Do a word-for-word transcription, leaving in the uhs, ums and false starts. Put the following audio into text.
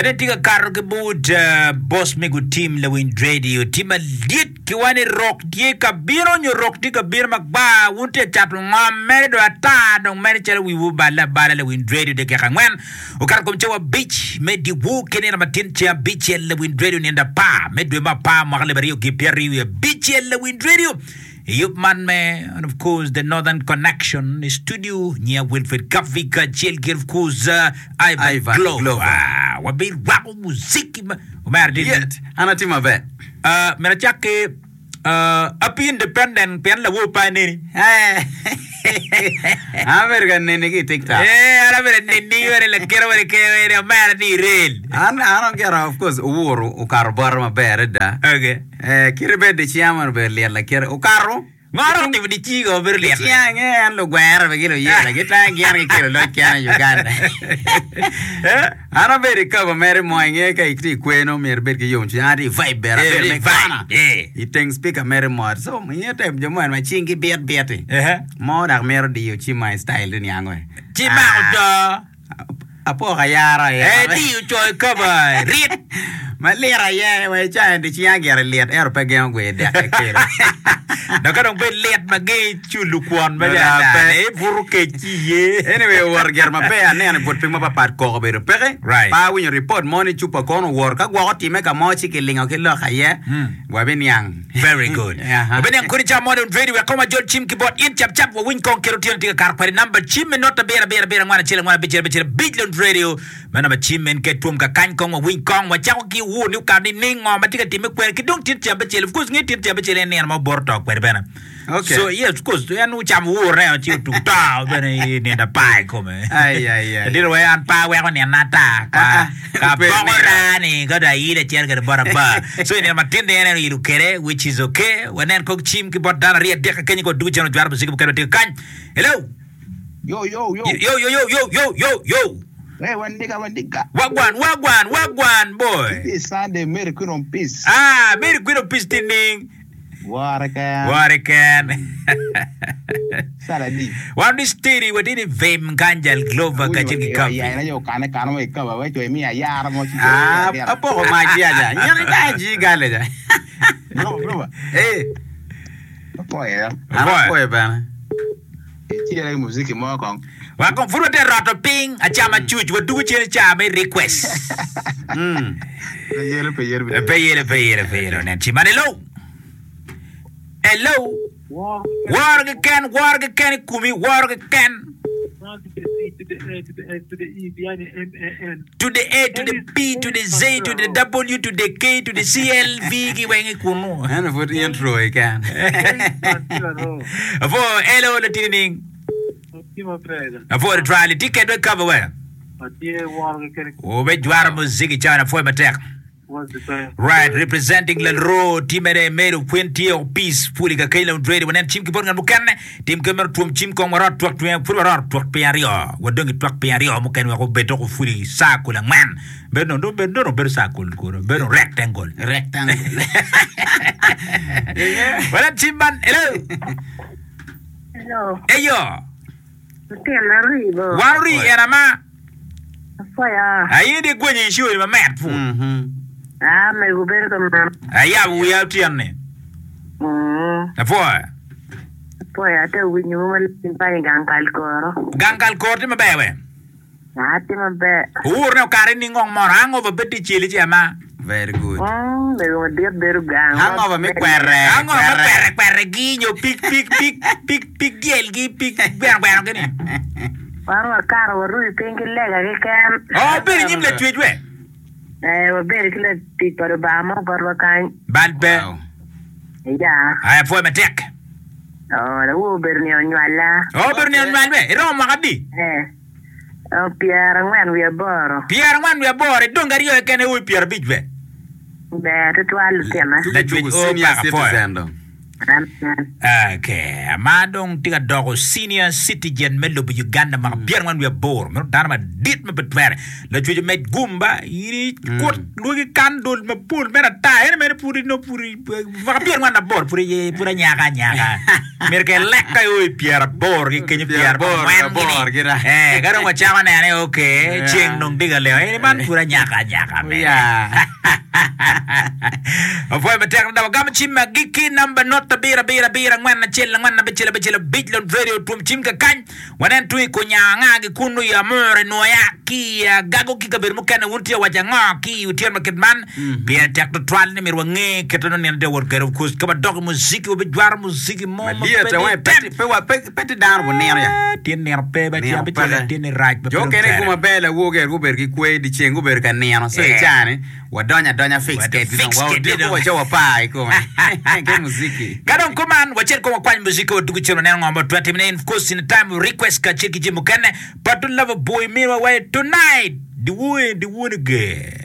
Ene tye ka kato ki but boss me gutim lawiny radio tye madit ki wa ni rok tye ka bino nyo rok tye ka bino magwar wun tye ka cato ngom mere dong ata dong mere calo wiwu oballe abala lawiny radio dakika angwen okato kom cawa abic me dyewor ki nino matin ceng abicel lawiny radio nindo apar me dwe me apar mwaka alip aryo ki pyeraryo wiye abicel lawiny radio I yub man me and of course the Northern Connection i studio nyiya Wilfred Kavi kacel ki of course uh, Ivan, Ivan Glover. Glover. Wabirwako muziki ma omera tye Yet, an atye maber. Uh, myero acak ki uh, Happy Independent pien lawor pe aneni. An abedo ka neni ki i TikTok. Eh, an abedo neni wene lakite wene ke wene omera ni irel. An an ogera of course owuru okato bota maber adada. Okay. Eh, kite bed di cinga man obedo lyet lakite. Okato. Ngo romo timo di cinga obedo lyet? Cinga nge en lugwere be ki luyela gitang gin gikelo loc kene i Uganda. Eh? An abedo i kaba mere mo inge ka itye i kweno myero ibed ki yomcwiny. An atye i vibe bene Eh, abedo i me vibe, kwana. eh. I teng speaker mere mot. So inge tem jo mo en ma cingi bit bit-ti. Ehe. Mo dok mito diyo cim ma i style ni niango. Ci mako to. Apoko ayara aye. Eh, diyo co i kaba, rit. Ma lit aye, wa icayo di cinga gire lit, ento pe gengo gwe dek kelo. Dok ka dong bed lit ma gengi culo kwon ma Dok jana, pe. ne ibuto kec ci iye. Anyway, owoto gire maber, aneno i but piny mapapat koko obedo peke. Right. Pe awinyo report mo ni cupa kono owoto, ka gwok otime ka mo ci kilingo ki lok aye, wabiniang. Very good. Aha. Wabiniang kodi ca mo dong ready wek kong wajol cim ki bot in cap cap wawiny kong kit otyeno tye ka kato kwede namba cim me not abiro abiro abiro angwen acel angwen abicel abicel abic lon radio me namba cim en ke twom ka kany kong wawiny kong wacako ki wur ni okato ni ning ngo ma tye ka timme kwene ki dong tit cam abicel of course nge tit cam abicel en nino ma oboto to kwede bene Okay. So yes of course en ocamo wur ne ci otugo to bene i nindo apar i kome. Ai, ai, ai. Ladit wai an pe aweko nino ata Ah, ka ah. ka Obedo boko nino. raa ni ka dong ayilo acel kede bot aba. So i nino matin ni en en oyilo kede which is okay. Wanen kong cim ki bot dano aryo adek ka kenyo ka wadugo cen ojwero muciki mukene watye kany. Hello. Yo, yo, yo. Yo yo yo yo yo yo yo. Hey, Wendiga, Wendiga. Wagwan wagwan wagwan boy. It is Sunday, Mary Queen of Peace. Ah, Mary Queen of Peace tining. Wore ken. Wore ken. Sala di. Wan di steady watye ni vim kanjal Glover kacel ki Awinyo Kavi. ya ina yo kane kano mo ikaba we chwe mi ayara mo ci Ah, apoko mac ya ja. Nyen ita ji gale ja. Glover, Glover. Eh, Apoyo ya. an apoyo bene. Icira ki muziki mo kong. Wa kong pud wate roto piny acama cuc wadugo cen i caa me request. Mm. Pe yelo, pe yelo, pe yelo. Pe yelo, pe yelo, pe yelo. Nen ci man hello. Hello. Woro keken, woro keken i komi, woro keken. To the A, to the P, to the Z, to the W, to the K, to the C, L, V ki weng i kunu. Eno pud intro keken. Apo, hello, latini ning. Apo, twali, tye kedwa i cover we. Ube jwaro muziki cawa apwoyo matek. Right, representing Lalro, tye mere Mary Queen tye o peace puli ka keny laun ready wanen cim ki bot ngat mukene tim ke meno twom cim kong warot twak piny pud warot twak piny aryo wadong i twak piny aryo mukene wek obed dok ofuli saa kul angwen bedo dong bedo dong bedo saa kul kuro bedo rectangle Rectangle. wanen cim man hello Hello. eyo Lutino aribo. wan ori en ama Apoya. aye di gwenyo i cori mamet pud Mhm. Ah, mego bedo ka mano. ayabo wiya otyeno ni Mm. apwoyo Apoya ate winyo mo malim panyo gang kal koro. gang kal kor tye maber we Ah, tye maber. Owur ne okare ni ngong mono hangover bed tye celi ci ama. Very good. Mm, mego madit bedo gang. Hangover me kwere. Hangover me kwere kwere gi nyo pig pig pig pig pig dyel gi pig gweno gweno gi ni. Wan wakato waruyo piny ki lega keken. Oh, bedo i nyim lacwec we. Eh, wabedo ki latic pa Lubanga mo botwa kany. Bal pe. Wow. Ya. Aya pwoyo matek. Oh, lawo obedo nino nywalla. Oh, obedo nino nywal we. Iromo mwaka adi? Eh. Oh, pyera angwen wiye aboro. Pyera angwen wiye aboro. Idong aryo keken ewo i pyera abic we. Ber tutwal lutina. Lacwec Tugo o senior paka pwoyo. citizen dong. Amen. Okay, ma dong tye ka doko senior citizen me lobo Uganda mwaka pyerangwen wiye aboro meno dano madit ma pe twere lacwec omed gumba in ikut lwagi kan dol mapol mere ata ene mere pud nongo pud mwaka pyerangwen aboro pud iye pud anyaka anyaka myero ke lek ka io i pyeraboro ki kenyo Pyeraboro, pyerabongwen aboro gini gira. eh ka dong wacako nene okay Yeah. ceng dong tye ka leo ene man pud anyaka anyaka mere Yeah. Apwoyo matek adada wagamo cim me agikki namba not abiro abiro abiro angwen acel angwen abicel abicel abic Lon Radio twom cim kakany wanen tung i kunyango anga gi kunu i Amur i Nwoya ki i Agago ki kabedo mukene wun tye waco ango ki i otyeno ma kit man pire tek tutwal ni myero wange kite nongo nino tye wot kwede of course ka wadok i muziki wabijwaro muziki mo ma Maliet pe awe di pe tem pe wa pe pe ti dano bunino ya. Ah, tye nino pe ba Nino cen abicel peke. tye ni rac ma pe Jo dong kene twere. kuma ber lawoger gubedo ki kwe dyeceng gubedo ka nino so Eh. i cani wadonyo adonya fix Wado kedi dong fix wa kedi odiko dong. wa co wapar i kome ki muziki. Ka dong kuman wacel kong wakwany muziki wadugo cen waneno ngo ma watwero timone in of course in the time of request kacel ki jami mukene but to love boy minwa wa tonight diwuoye diwuone ge.